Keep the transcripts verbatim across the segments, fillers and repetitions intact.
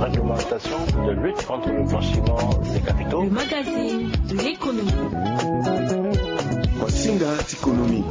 Réglementation de lutte contre le blanchiment des capitaux. Le magazine de l'économie. Masinga ti économie.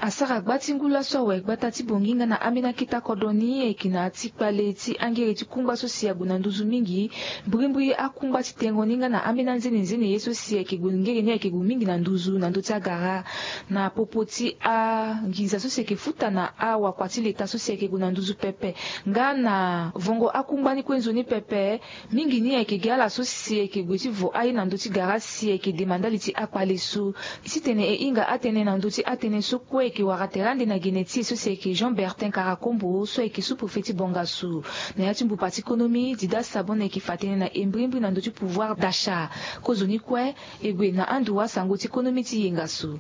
Asara gba ti ngu laso awe gbata ti bongi nga na ambeni akita kodro ni ayeke na ti kpale ti angere ti kungba so si ague na nduzu mingi. Mbrimbri akungba ti tengo ni nga na ambeni anzenenzene ye so si ayeke gue ngere ni ayeke gue mingi na nduzu na ndö ti agara. Na popo ti anginza so si ayeke futa na awakua ti leta so si ayeke gue na nduzu pepe nga na vongo akungba ni kue nzoni pepe. Mingi ni ayeke gi ala so si ayeke gue ti vo aye na ndö ti gara si ayeke dema ndali ti akpale so. Titene e hinga atënë na ndö ti atënë so kue ayeke wara tere ande na gene ti e so si ayeke Jean Bertin Karakombo so ayeke sous-préfet ti Bongassou. Na ya ti mbupa ti konomi Dida Sabon ayeke fa tënë na e mbrimbri na ndö ti pouvoir d'achat. Kozoni kue e gue na ando wasango ti konomi ti yenga so.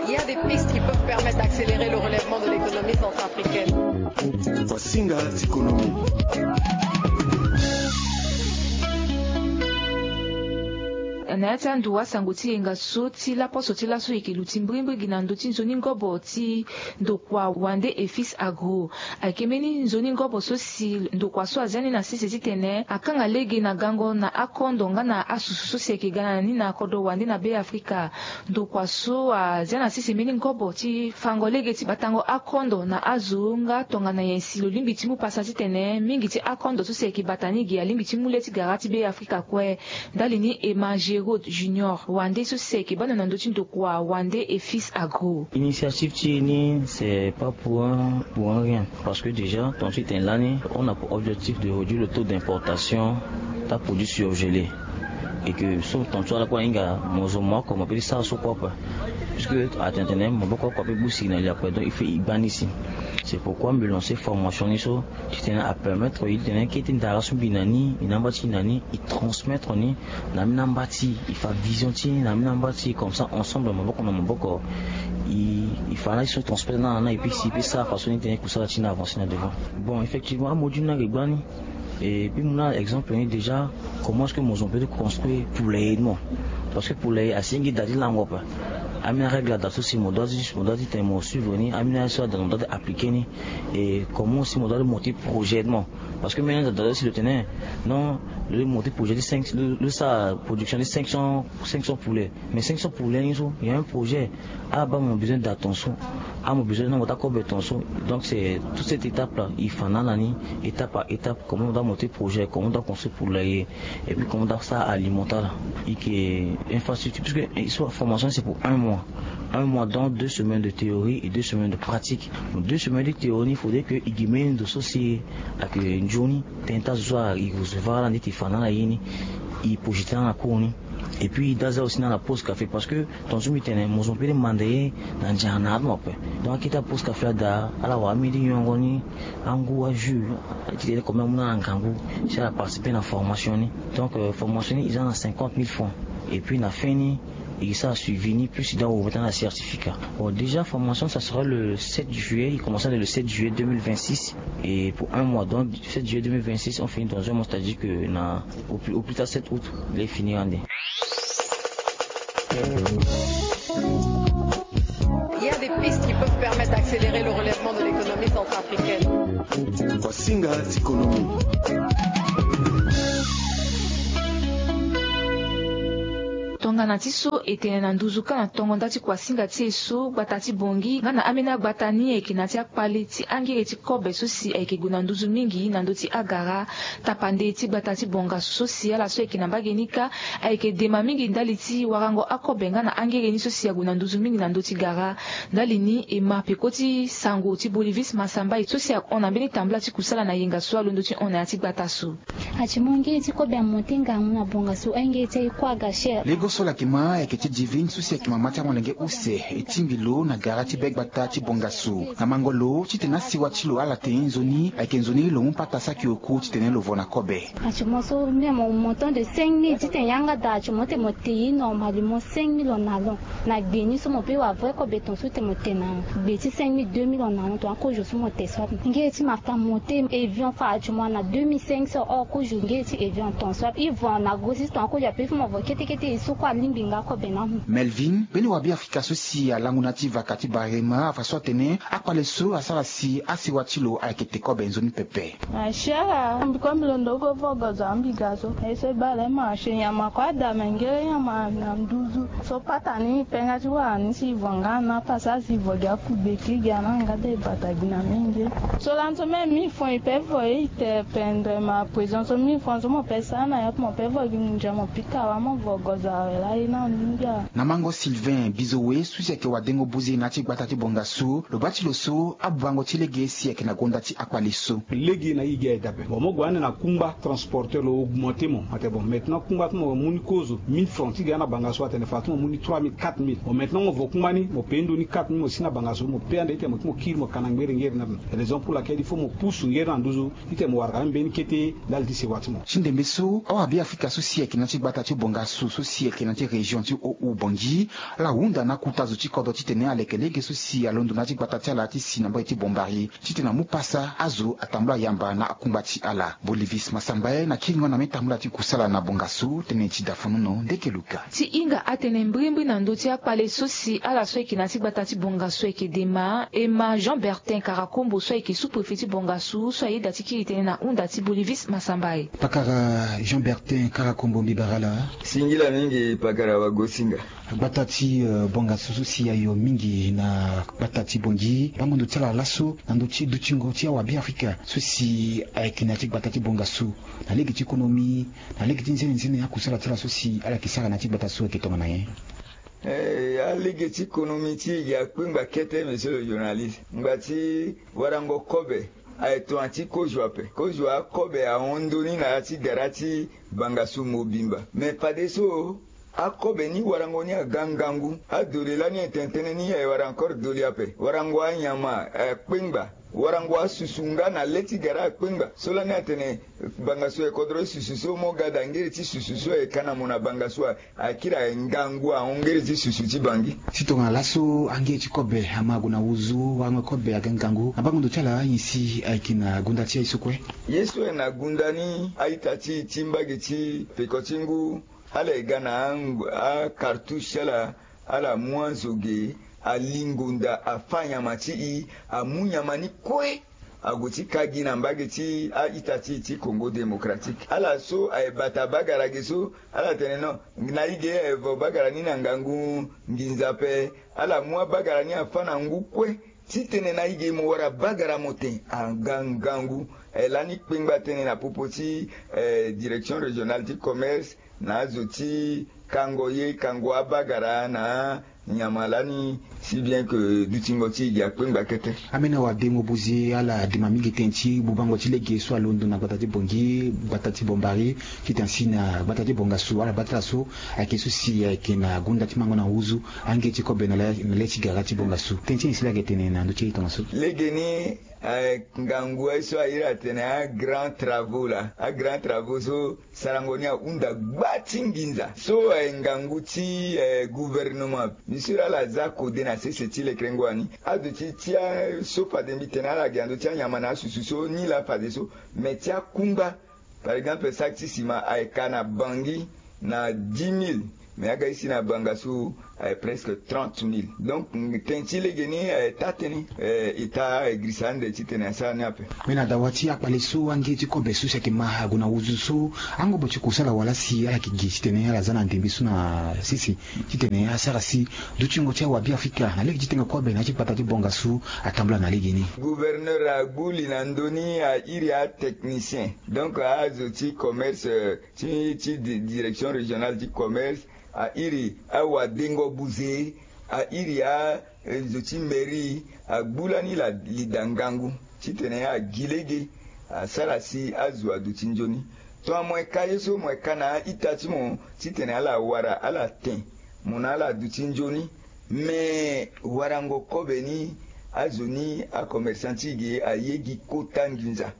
Il y a des pistes qui peuvent permettre d'accélérer le relèvement de l'économie centrafricaine. Masinga ti économie. Na ya ti ando wasango ti yenga so ti laposo ti laso e yeke luti mbrimbri gi na ndö ti nzoni ngobo ti ndokua Wande et Fils Agro. Ayeke mbeni nzoni ngobo so si ndokua so azia ni na sese titene akanga lege na gango na akondo nga na asusu so si ayeke ga na ni na kodro wande na Be Afrika. Ndokua so azia na sese mbeni ngobo ti fango lege ti batango akondo na azo nga tongana nyen si lo lingbi ti mu pasa titene mingi ti akondo so si ayeke bata ni ge alingbi ti mu le ti gara ti Be Afrika kue. Ndali ni Emma Gérod Junior, wande so si ayeke baa na ndö ti ndokua Wande et Fils Agro. Initiative ti e ni, c'est pas pour un, pour un rien. Parce que déjà, ton site est là, on a pour objectif de réduire le taux d'importation ta produit surgelé. Et que so ton site ala kue ahinga mo zo mo oko mo peut ti sara so kue ape. Puisque atene tene maboko oko ape busi na li ape, donc il faut e gba ni si. C'est pourquoi me lancer formation ni so titene apermettre e titene kete ndara so mbi na ni, e na amba ti e na ni, e transmettre ni na ambeni amba ti e, e fa vision ti e na ambeni amba ti e, comme ça ensemble maboko na maboko e, e fa na e so transmettre na na e pe si e pe sara façon ni titene kusala ti e na avancer na devant. Bon, effectivement amodule ni ayeke gba ni. Et puis mu na exemple ni déjà, comment est-ce que mo zo mo peut ti construire poulailler ni mo? Parce que poulailler asengi da ti lango ape. Ambeni arègle ada so si mo doit ti, mo doit ti tene mo suivre ni, ambeni arègle so ada mo doit ti appliquer ni. Et comment aussi mo doit ti monter projet mo? Parce que mbeni ada da so si lo tene non, lo monter projet ti cinq, lo, lo sara production ti cinq cents, cinq cents poulets. Mais cinq cents poulets ni so il y a un projet. Ah bah, mo besoin da ton so. Ah, mo besoin na mo ta kobe ton so. Donc c'est toute cette étape là, il faut na na ni étape par étape, comment on doit monter projet, comment on doit construire poulailler, et puis comment on doit ça alimenter là. Et que infrastructure, parce que, eh, soit formation c'est pour un mois. Un mois, donc deux semaines de théorie et deux semaines de pratique. Donc deux semaines de théorie, il faudrait que i gi mbeni ndo so si ayeke nzoni tënë ti azo so ayeke recevoir ala ndeti e fa na ala ye ni, e projeter na ala cours ni. Et puis i da aza aussi na ala pause café, parce que ton so mbi tene mo zo mo peut ti manda ye na nzara na adomo ape. Donc akete apause café ada, ala wara mbeni ti nyongo ni, angu, ajus, titene comme amu na ala ngangu si ala participer na formation ni. Donc, euh, formation ni e za na cinquante mille francs. Et puis na fin ni e sara suivi ni plus e da wo meta na certificat. Bon, déjà formation ça sera le sept juillet, il commence le sept juillet deux mille vingt-six et pour un mois. Donc sept juillet deux mille vingt-six on finit dans un mois, c'est-à-dire que na au plus, au plus tard sept août il est fini ande. Il y a des pistes qui peuvent permettre d'accélérer le relèvement de l'économie centrafricaine. Masinga ti économie. Tongana ti so e tene na nduzu kâ na tongo nda ti kuasinga ti e so, gbata ti Bongi nga na ambeni agbata ni ayeke na ti akpale ti angere ti kobe so si ayeke gue na nduzu mingi na ndö ti agara. Tapande ti gbata ti Bongassou so si ala so ayeke na mbage ni kâ ayeke dema mingi ndali ti warango akobe nga na angere ni so si ague na nduzu mingi na ndö ti gara. Ndali ni e ma peko ti sango ti Bolivis Massamba so si ahon na mbeni tambula ti kusala na yenga so alondo ti hon na ya ti gbata so. Ati mo ngiri ti kobe amonté ngangu na bonga so aye ngiri ti aye kue aga cher. Lego so ala yeke ma ayeke ti divine so si ayeke mama ti amolenge use e tingbi lo na gara ti be gbata ti bonga so na mango lo titene asiwa ti lo ala tene nzoni ayeke nzoni lo mu pata saki oku titene lo vo na kobe. Ati mo so mbi mo montant de cinq mille titene yanga daa ati mo tene mo te ye normalement cinq mille en allant. Na gbe ni so mo pe wa vrai kobe ton so tene mo te na gbe ti cinq mille deux mille en allant ton akozo so mo te so ape ngiri ti masta monté avion fa ati mo na deux mille cinq cents or kozo ngiri ti avion ton so ape i vo na grossiste ton akozo ape fo mo vo kete kete e so. Kue alingbi nga kobe na mu. Melvin, mbeni wabeafrika so si alango na ya ti vaka ti barema afa so atene akpale so asara si asewa ti lo ayeke te kobe nzoni pepe. Asiara mbi kue mbi londo go vogozo ambi ga so ese bale ma se nyama kue ada me ngere nyama na nduzu. So pata ni penga ti wara ni si ivo nga na pasa si ivo gi akugbe kiri gi ana nga de bata gi na mingi. So lanso me mi fon ipe vo ite pendre ma prison so mi fon so mo pe sa na ya mo pe vo gi ngunja mo pika wa mo vo gozo awe la ye na mingi a. Na mango sylvain bizo we so si ayeke wadengo buze na ya ti gbata ti bonga so lo baa ti lo so abubango ti lege si ayeke na gonda ti akpale so. Lege na i gi aye dape bon mo gue ande na kungba transporteur lo augmente mo ate bon maintenant kungba ti mo mu ni kozo mille francs ti gi ana banga so atene fa ti mo mu ni trois mille quatre mille bon maintenant mo vo kungba ni mo pe ndo ni quatre mille mo si na banga so mo pe ande ite mo ti mo kiri mo kana ngbere ngere na raison pour laquelle il faut mo pusu ngere na nduzu ite mo wara ka mbeni kete. Ndali ti sewa ti mo. Ti ndembe so awabeafrika so si ayeke na ya ti gbata ti bonga so so si ayeke na ya ti région ti o u bongi ala hunda na akuta zo ti kodro titene aleke lege so si alondo na ya ti gbata ti ala ti si na mbage ti bombari titene amu pasa azo atambula yamba na akungba ti ala. Bolivis masambae na kiringo na me tambula ti kusala na bonga so tene ti dafanono ndeke luka. Ti hinga atene mbirimbiri na ndö ti akpale so si ala so ayeke na ya ti gbata ti bonga so ayeke dema ema jean bertin karakombo so ayeke sous-préfet ti bonga so so ayeda ti kiri tene na hunda ti bolivis masambae. Pakara jean bertin karakombo mbi bara ala. Singila mingi pakara wagosinga. Gbata ti bonga so so si ayo mingi na gbata ti bongi bango ndo ti ala laso na ndö ti dutingo ti awabeafrika so si ayeke na ya ti gbata ti bonga so na lege ti konomi na lege ti nzene nzene akusala ti ala so si ala yeke sara na ya ti gbata so ayeke tongana nyen? Alege ti konomi ti e gi akpengba kete monsieur le journaliste ngba ti warango kobe. Aye tongana ti kozua ape kozua akobe ahon ndoni na ya ti gara ti bangasu mobimba me fadeso akobe ni warango ni aga ngangu. Adole lani etene tënë ni aye wara encore doli ape warango anyama akpengba warango asusu nga na le ti gara akpengba so lani atene bangasu aye kodro ti susu so mo ga da ngere ti susu so aye ka na mo na bangasu aye akiri aye ngangu ahon ngere ti susu ti bangi. Ti tongana laso angere ti kobe ama ague na wuzu warango kobe aga ngangu na bango ndo ti ala anyen si ayeke na gunda ti aye so kue. Ye so aye na gunda ni a-ita ti e ti mbage ti peko ti ngu ala ye ga na akartouche ti ala ala mu azo ge alingo nda afa nyama ti e amu nyama ni kue ague ti ka gi na mbage ti a-ita ti e ti kongo démocratique ala so aye bata bagara ge so ala tene non na e ge aye vo bagara ni na ngangu nginza ape ala mu abagara ni afa na ngu kue. Titene na e ge mo wara bagara mo ten aga ngangu. Lani kpengba tënë na popo ti direction régionale ti commerce na azo ti kango ye kango abagara na nyama lani si bien ke dutingo ti e gi akpengba kete. Ambeni awadengo buze ala dema mingi tënë ti bubango ti lege so alondo na gbata ti bongi gbata ti bombari titene si na gbata ti bongasu ala baa ti ala so ayeke so si ayeke na gunda ti mango na wuzu ange ti kobe na le ti gara ti bongasu tënë ti nyen si laa ayeke tene na ndö ti e tongaso? Legeni aye ngangu aye so aye iri atene agraand travaux laa agraand travaux so sarango ni ahunda gba ti nginza so aye ngangu ti gouvernement. Mbi siri ala za kode na sese ti lekerengo ani aduti ti aso fade mbi tene ala gi na ndö ti anyama na asusu so ni laa fadeso me ti akungba par exemple saki ti sima aye ka na bangi na dix mille. Mais aga isi na banga so aye presque trente mille donc tënë ti legeni aye taa tënë. Eta aye girisa ande titene asara ni ape. Mais na dawa ti akpale so ange ti kobe so si ayeke ma ague na wuzu so angobo ti kusala wala si ala yeke gi titene ala za na ndembe so na sese titene asara si dutingo ti awabiafrika na lege ti tenge kobe na ya ti kpata ti bonga so atambula na legeni. Gouverneur agbu li na ndö ni airi atechnicien donc azo ti commerce ti ti direction régionale ti commerce airi awadengo buze airi azo ti mairie agbu lani lida ngangu titene agi lege asara si azo aduti nzoni. Tongana mo yeka ye so mo yeka na a-ita ti mo titene ala wara ala ten mo na ala aduti nzoni. Me warango kobe ni azo ni acommerçant ti e ge aye gi kota nginza.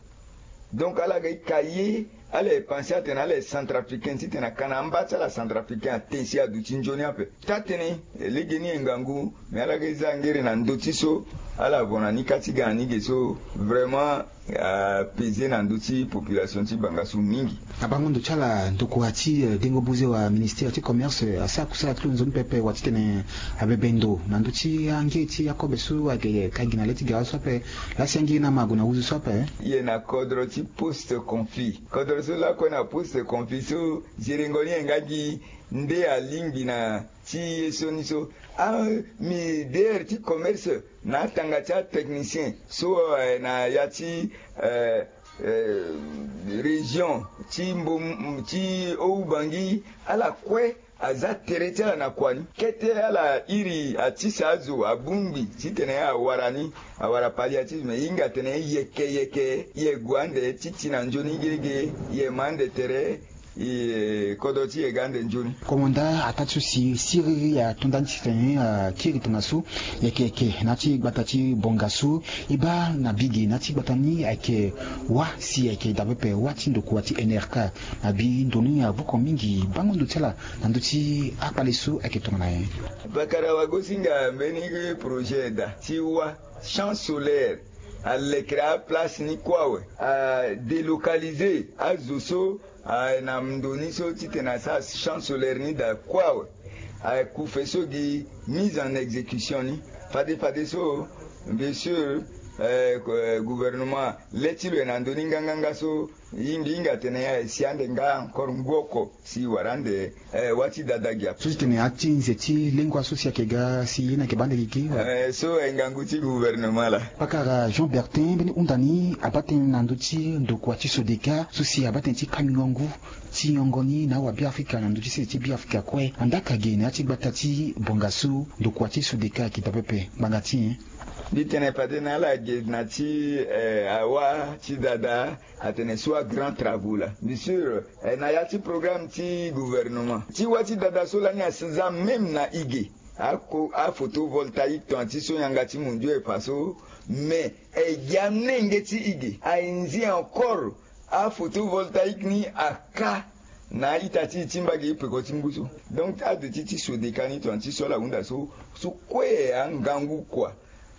Donc ala ga e ka ye ala ye panse atene ala ye centrafricain titene aka na amba ti ala centrafricain aten si aduti nzoni ape. Taa-tënë legeni e ngangu. Me ala ga e za ngere na ndö ti so Ala vo na ni ka ti ga na ni ge so vraiment apese na ndö ti population ti bangasu mingi. Abango ndo ti ala ndokua ti dengo buze wa ministere ti commerce asara kusala ti lo nzoni pepe wa titene abebe ndo na ndö ti ange ti akobe so ayeke ka gi na le ti gara so ape. Lasi ange na mago na wuzu so ape. Ye na kodro ti poste conflit kodro so lakue na poste conflit so ziringo ni enga gi nde alingbi na ti ye so ni so ami dere ti commerce na atanga ti atechnicien so na ya ti région ti mbom ti oubangi ala kue aza tere ti ala na kua ni kete ala iri atisa azo abongbi titene awara ni awara pali atise me hinga tene yeke yeke ye gue ande ti ti na nzoni gege ye ma ande tere. Kodro ti ye ga ande nzoni. Komanda ataa ti so si siriri atonda ni titene akiri tongaso yeke yeke na ya ti gbata ti bongaso e baa na bi ge na ya ti gbata ni ayeke wâ si ayeke daa pepe wâ ti ndokua ti nrk. Na bi ndo ni avoko mingi bango ndo ti ala na ndö ti akpale so ayeke tongana nyen? Bakara wagosinga mbeni projet daa ti wâ champ solaire alekere aplace ni kue awe adélocaliser azo so na ndo ni so titene asara champ solaire ni daa kue awe. Akufe so gi mise en exécution ni fade fade so. Bien sûr gouvernement le ti lo ye na ndo ni nganganga so. Yingi yinga tene ya esi ande nga encore ngu oko si wara ande. Wâ ti dada gi ape so titene ati nze ti lengua so si ayeke ga si ye ni ayeke baa ande gigi. So ngangu ti gouvernement laa. Pakara jean bertin mbeni hunda ni abaa tënë na ndö ti ndokua ti sodeka so si abaa tënë ti kamion ngu ti nyongo ni na awabiafrika na ndö ti sese ti biafrika kue andaka ge na ya ti gbata ti bongaso ndokua ti sodeka ayeke daa pepe ngbanga ti nyen? Mbi tene pade na ala ge na ti awa ti dada atene so a grand travaux laa bien sûr na ya ti programme ti gouvernement ti wâ ti dada so lani asi za même na i ge. Ako aphotovoltaïque ton ti so yanga ti mondio e fa so mais e gi amenge ti i ge aye nzi encore aphotovoltaïque ni aka na a-ita ti e ti mbage e peko ti ngu so. Donc ade ti ti sodeka ni ton ti so ala hunda so so kue angangu kua.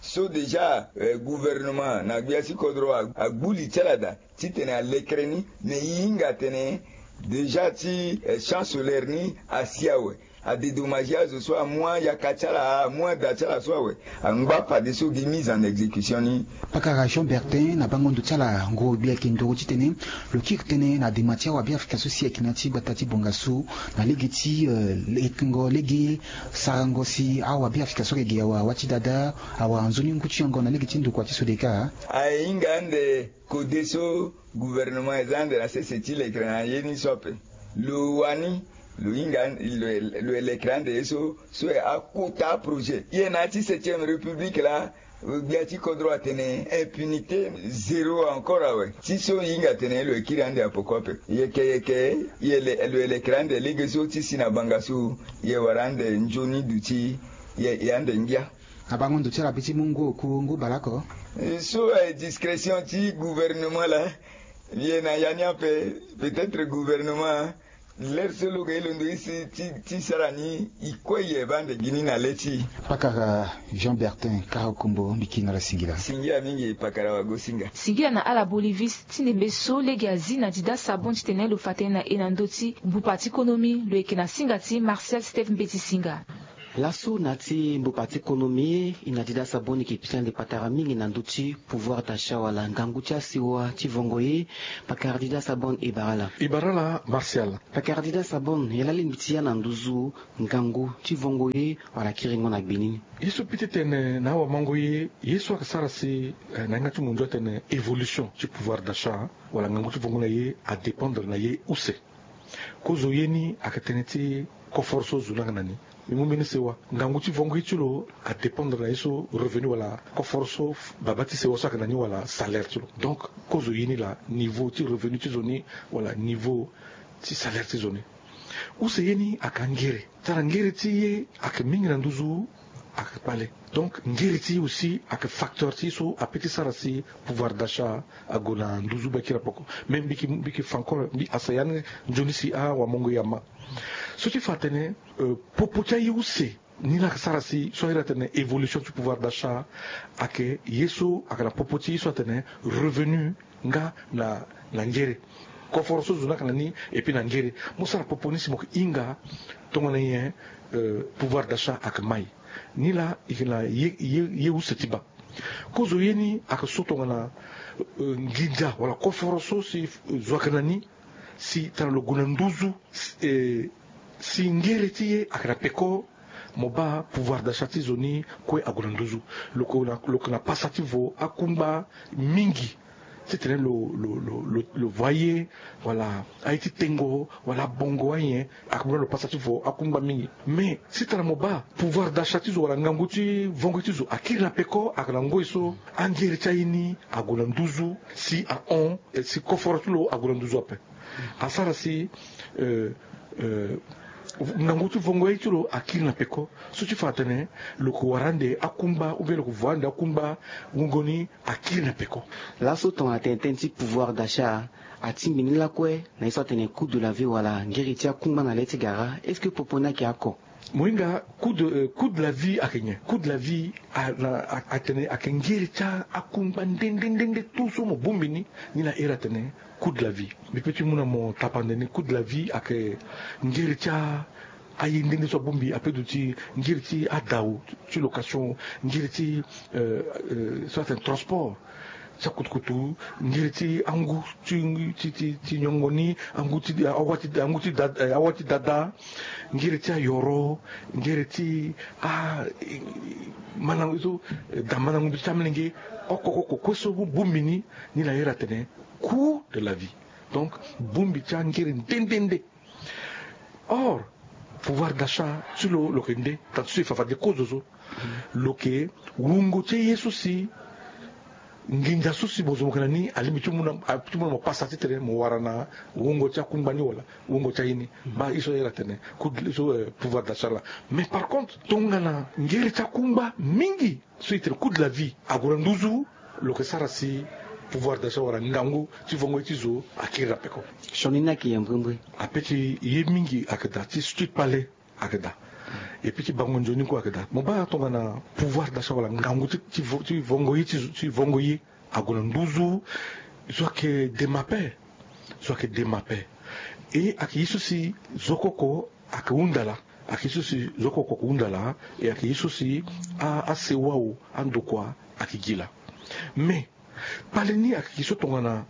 So déjà gouvernement na gbia ti kodro agbu li ti ala daa titene alekere ni. Mais e hinga atene déjà ti champ solaire ni asi awe adédommager azo so amu ayaka ti ala amu ada ti ala so awe. Angba fadeso gi mise en exécution ni. Pakara jean bertin na bango ndo ti ala ngoro gbi ayeke ndoro titene lo kiri tënë na dema ti awabiafrika so si ayeke na ya ti gbata ti bongaso na lege ti lekengo lege sarango si awabiafrika so ayeke ge awa awa ti dada awa nzoni ngu ti yongo na lege ti ndokua ti sodeka. Aye hinga ande kode so gouvernement eza ande na sese ti lekere na ye ni so ape. Lo wani lo hinga lo elekere ande ye so so akota aprojet ye na ya ti septième république laa. Gbia ti kodro atene impunité zéro encore awe ti so e hinga atene lo ekiri ande apoko ape. Yeke yeke ye lo elekere ande lege so ti si na bangasu ye wara ande nzoni duti ye ande ngia. Abango ndo ti ala be ti mu ngu oku ngu baleoko. So discrétion ti gouvernement laa. Ye na ya ni ape peut-être gouvernement lere so lo ga e londo isi ti sara ni e kue ye baa ande gi ni na le ti. Pakara jean bertin karakombo mbi kiri na ala singila. Singila mingi pakara wagosinga. Singila na ala bolivis ti ndembe so lege azi na dida sabon titene lo fa tënë na e na ndö ti mbupa ti konomi lo yeke na singa ti martial steve mbeti singa. Laso na ti mbupa ti konomi e na dida sabon ni yeke pika ande patara mingi na ndö ti pouvoir d'achat wala ngangu ti asiwa ti vongo ye. Pakara dida sabon e bara ala. E bara ala martial. Pakara dida sabon ye laa lingbi ti ya na nduzu ngangu ti vongo ye wala kiringo na gbe ni. Ye so pite tene na awamango ye ye so ayeke sara si na yanga ti mondio atene évolution ti pouvoir d'achat wala ngangu ti vongo na ye adépendre na ye use. Kozo ye ni ayeke tënë ti koforo so zo ni ayeke na ni. Mbi mu mbeni sewa ngangu ti vongo ye ti lo adépendre na ye so revenu wala koforo so baba ti sewa so ayeke na ni wala salaire ti lo. Donc kozo ye ni laa niveau ti revenu ti zo ni wala niveau ti salaire ti zo ni. Use ye ni ayeke angere tara ngere ti ye ayeke mingi na nduzu. Ayeke kpale. Donc ngere ti ye aussi ayeke facteur ti ye so ape ti sara si pouvoir d'achat ague na nduzu be akiri apoko. Mais mbi yeke mbi yeke fa encore mbi asa ya ni nzoni si awamongo ye ama so ti fa atene popo ti aye use Ni laa ayeke sara si so ayeke iri atene évolution ti pouvoir d'achat ayeke ye so ayeke na popo ti ye so atene revenu nga na na ngere. Koforo so zo ni ayeke na ni, et puis na ngere mo sara popo ni si mo yeke hinga tongana nyen pouvoir d'achat ayeke mai. Ni laa e yeke na ye use ti baa. Kozo ye ni ayeke so tongana nginza wala koforo so si zo ayeke na ni si tara lo gue na nduzu si ngere ti e ayeke na peko. Mo baa pouvoir d'achat ti zo ni kue ague na nduzu. Lo yeke na pasa ti vo akungba mingi titene lo lo lo lo lo voye wala aye ti tengo wala abongo anyen. Akungba lo pasa ti vo akungba mingi. Mais si tara mo baa pouvoir d'achat ti zo wala ngangu ti vongo ti zo akiri na peko ayeke na ngoi so angere ti aye ni ague na nduzu si ahon si koforo ti lo ague na nduzu ape. Asara si ngangu ti vongo ye ti lo akiri na peko so ti fa atene lo yeke wara ande akungba ou bien lo yeke vo ande akungba wungo ni akiri na peko. Laso tongana tene tënë ti pouvoir d'achat atingbi ni lakue na ye so atene coût de la vie wala ngiri ti akungba na le ti gara est-ce que popo ni ayeke oko? Mo hinga coût de la vie ayeke nyen? Coût de la vie atene ayeke ngiri ti akungba nde nde nde nde tout so mo bongbi ni. Ni laa iri atene coût de la vie. Mbi pe ti mu na mo tapande ni coût de la vie ayeke ngiri ti aye nde nde so abongbi ape duti ngiri ti adau ti location ngiri ti so atene transport ti akutukutu ngiri ti angu ti ti ti nyongo ni angu ti awa ti awa ti dada ngiri ti ayoro ngiri ti a mandango so da mandango mbi ti amelenge oko oko kue so bongbi ni. Ni laa iri atene coût de la vie. Donc bongbi ti angiri nde nde nde. Or pouvoir d'achat ti lo lo yeke nde tanti so e fa fade kozo so lo yeke wungo ti ye so si nginza so si mo zo mo yeke na ni alingbi ti mu na mo pasa titene mo wara na wungo ti akungba ni wala wungo ti aye ni. Baa ye so ayeke atene coût so pouvoir d'achat laa. Mais par contre tongana ngere ti akungba mingi so e tene coût de la vie ague na nduzu lo yeke sara si pouvoir d'achat wala ngangu ti vongo ye ti zo akiri na peko. Sioni ni ayeke yembrembre. Ape ti ye mingi ayeke daa ti so ti kpale ayeke daa. Epui ti bango nzoni kue ayeke daa mo baa tongana pouvoir d'achat wala ngangu ti vongo ye ti zo ti vongo ye ague na nduzu. Zo ayeke dema ape. Zo ayeke dema ape. E ayeke ye so si zo koko ayeke hunda laa. Ayeke ye so si zo koko ayeke hunda laa. E ayeke ye so si asewa o andokua ayeke gi laa. Mais kpale ni ayeke gi so tongana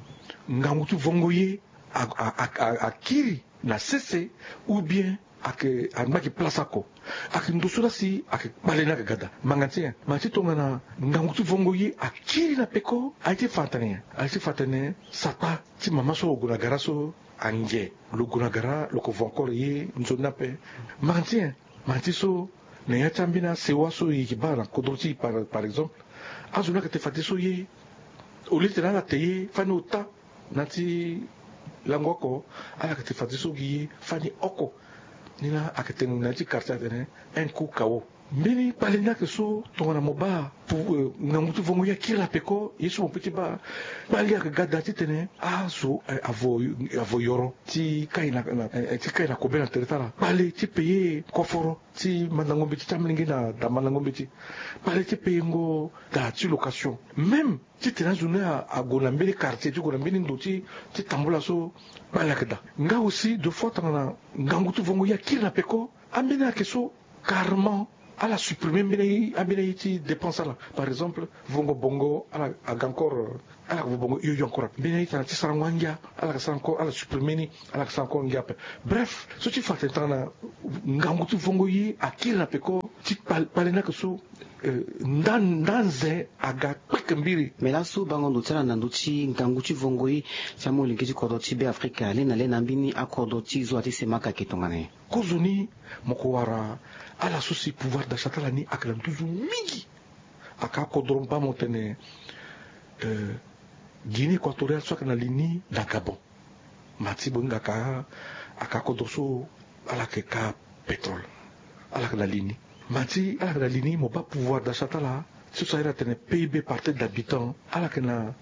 ngangu ti vongo ye akiri na sese ou bien ayeke angba gi place oko. Ayeke ndo so laa si ayeke kpale ni ayeke ga daa manga ti nyen? Manga ti tongana ngangu ti vongo ye akiri na peko aye ti fa atene nyen? Aye ti fa atene sata ti mama so lo gue na gara so ange lo gue na gara lo yeke vo encore ye nzoni ni ape. Manga ti nyen? Manga ti so na ya ti ambeni asewa so e yeke baa na kodro ti e par exemple azo ni ayeke te fade so ye au lieu ti tene ala te ye fani ota na ya ti lango oko ala yeke te fade so gi ye fani oko. Ni laa ayeke tene na ya ti quartier atene un coup kawo. Mbeni kpale ni ayeke so tongana mo baa ngangu ti vongo ye akiri na peko ye so mo pe ti baa kpale ayeke ga daa titene azo avo yoro ti kai na kobe na tere ti ala kpale ti paye koforo ti mandango mbeti ti amelenge na da mandango mbeti. Kpale ti payengo da ti location même titene azo ni ague na mbeni quartier ti gue na mbeni ndo ti tambula so kpale ayeke daa. Nga aussi de fois tongana ngangu ti vongo ye akiri na peko ambeni ayeke so carrement ala supprimer mbeni aye ti dépense ala. Par exemple vongo bongo ala aga encore ala yeke vo bongo hio hio encore ape mbeni aye tana ti sarango angia ala yeke sara encore ala supprimer ni ala yeke sara encore ngia ape. Bref so ti fa atene tongana ngangu ti vongo ye akiri na peko ti kpale ni ayeke so nda nda nze aga kpeke mbiri. Mais laso bango ndo ti ala na ndö ti ngangu ti vongo ye ti amolenge ti kodro ti be afrika le na le na mbeni akodro ti zoa ti semaka ayeke tongana nyen? Kozoni mo ko wara ala so si pouvoir d'achat ti ala ni ayeke na nduzu mingi. Aka akodro mba mo tene guinée équatoriale so ayeke na li ni na gabon. Ma ti bonga aka aka akodro so ala yeke ka pétrole. Ala yeke na li ni ma ti ala yeke na li ni mo baa pouvoir d'achat ti ala ti so ayeke atene pib par tête d'habitant ala yeke na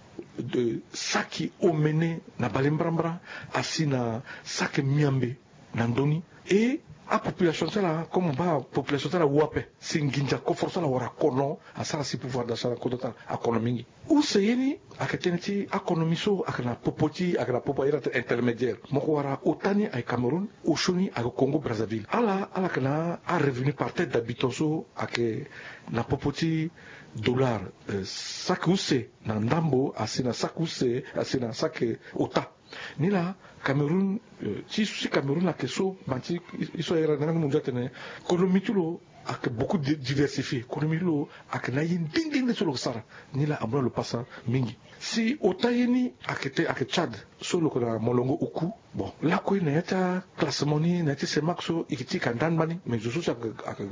saki omene na balembrambra asi na saki miambe na ndö ni. E apopulation ti ala, comme mo baa, population ti ala wu ape. Si nginza koforo ti ala wala kono asara si pouvoir d'achat na kodro ti ala akono mingi. Use ye ni ayeke tënë ti akonomi so ayeke na popo ti, ayeke na popo aye ti intermédiaire. Moko wara ota ni ayeke Cameroun, osio ni ayeke Congo Brazzaville. Ala ala yeke na arevenu par tête d'habitant so ayeke na popo ti dollar, eh, saki use na ndambo asi na saki use asi na saki ota. Nilaa Cameroun, eh, ti so si Cameroun ayeke so, ma ti e so ayere na ni, ngu mo ndia atene konomi ti lo ayeke beaucoup diversifié. Konomi ti lo ayeke na aye nde nde nde so lo yeke sara. Nilaa amu na lo pasa mingi. Si ota ye ni ayeke te ayeke Tchad, so lo yeke na molongo oku. Bon, lakue na ya ti aclassement ni na ya ti CEMAC so e yeke ti e ka ndani mbani, mais zo so si ayeke ayeke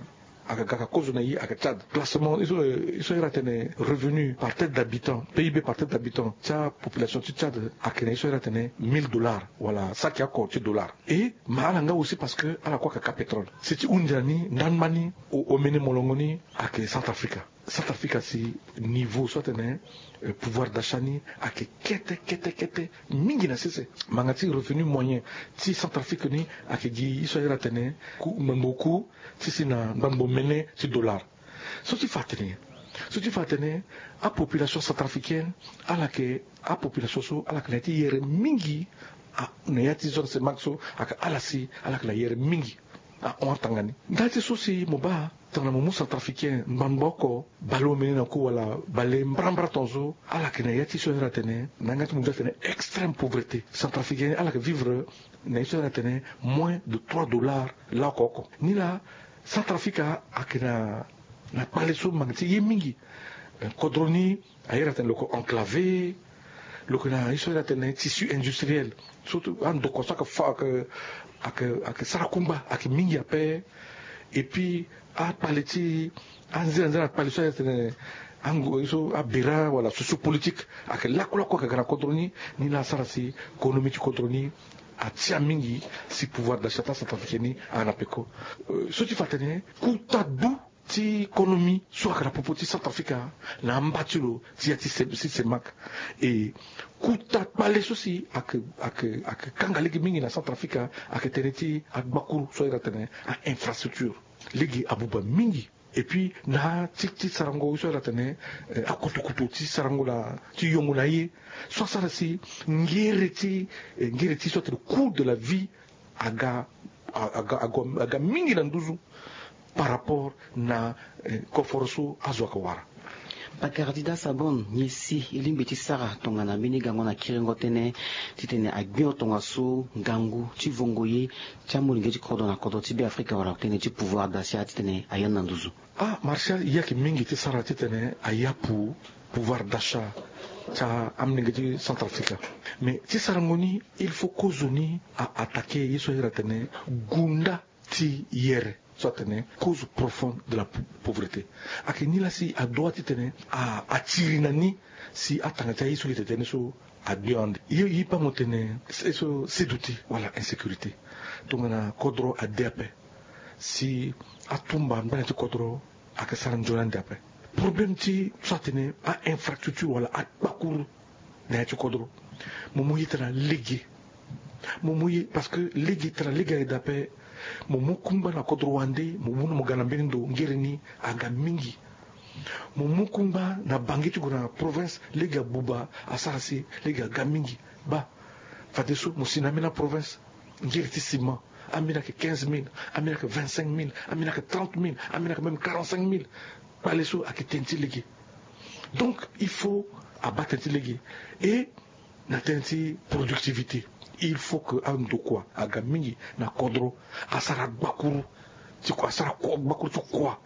ga ka kozo na e ayeke Tchad. Classement e so e so ayere atene revenu par tête d'habitant, PIB par tête d'habitant ti apopulation ti Tchad ayeke na e so ayere atene mille dollars wala saki oko ti dollar. E ma ala nga aussi parce que ala kue ayeke ka pétrole. Si ti hunzi na ni ndani mbani, omene molongo ni ayeke Centrafrica. Centrafrica si niveau so atene, eh, pouvoir d'achat ni ayeke kete kete kete mingi na sese. Manga ti revenu moyen ti Centrafrique ni ayeke gi e so ayere atene ku ngbangbo ku ti si na ngbangbo mene ti dollar. So ti fa atene nyen? So ti fa atene apopulation centrafricaine ala yeke apopulation so ala yeke na ya ti yere mingi. Na ya ti zone CEMAC so ayeke ala si ala yeke na yere mingi. Ahon atanga ni. Nda ti so si mo baa tongana mo mu centrafricain ngbangba oko, baleomene na ku wala bale mbrambra tongaso, ala yeke na ya ti so ayere atene na yanga ti mo ndia atene extrême pauvreté. Centrafricain ni ala yeke vivre na ye so ayere atene moins de trois dollars laoko oko. Nilaa Centrafrique ayeke na kpale so manga ti ye mingi. Kodro ni ayere atene lo yeke enclavé. Lo yeke na ye so ayere atene tissu industriel. Surtout andokua so ayeke fa ayeke ayeke sara kungba ayeke mingi ape. Et puis akpale ti anzera nzera kpale so ayere atene ango ye so abera wala sociopolitique ayeke laku laku ayeke ga na kodro ni. Nilaa asara si konomi ti kodro ni atia mingi. Si pouvoir d'achat ti acentrafricain ni aga na peko. So ti fa atene kuta du ti konomi so ayeke na popo ti Centrafrique na amba ti lo ti ya ti CEMAC. E kuta kpale so si ayeke ayeke ayeke kanga lege mingi na Centrafrique ayeke tënë ti agbakuru so ayere atene a infrastructure. Lege abuba mingi. Et puis na ti ti sarango so ayere atene akutukutu ti sarango na ti yongo na aye so asara si ngere ti ngere ti so atene coût de la vie aga aga aga mingi na nduzu par rapport na koforo so azo ayeke wara. Bakardi da Sabon, nyen si e lingbi ti sara tongana mbeni gango na kiringo tënë titene agbio tongaso ngangu ti vongo ye ti amolenge ti kodro na kodro ti Beafrika wala tënë ti pouvoir d'achat titene ayani na nduzu? Ah Martial, e yeke mingi ti sara titene ayapu pouvoir d'achat ti amolenge ti Centrafrique. Mais ti sarango ni il faut kozo ni a attaquer ye so ayere atene gunda ti yere so atene cause profonde de la pauvreté. Ayeke ni laa si adoit titene atiri na ni si atanga ti aye so gi tene so agbe ande. Ye ye pa mo tene ye so seduti wala insécurité. Tongana kodro ade ape si atumba mbana ti kodro ayeke sara nzoni ande ape. Problème ti so atene a infrastructure wala akpakuru na ya ti kodro. Mo mu ye tara lege. Mo mu ye parce que lege tara lege ayeke daa ape. Mo mu kungba na kodro wande mo mu na mo ga na mbeni ndo ngere ni aga mingi. Mo mu kungba na bange ti gue na province lege abuba asara si lege aga mingi. Baa fadeso mo si na ambeni aprovince ngere ti ciment ambeni ayeke quinze mille, ambeni ayeke vingt-cinq mille, ambeni ayeke trente mille, ambeni ayeke même quarante-cinq mille. Kpale so ayeke tënë ti lege. Donc il faut abaa tënë ti lege. Et na tënë ti productivité il faut que andokua aga mingi na kodro asara gbakuru ti kua asara gbakuru ti kua.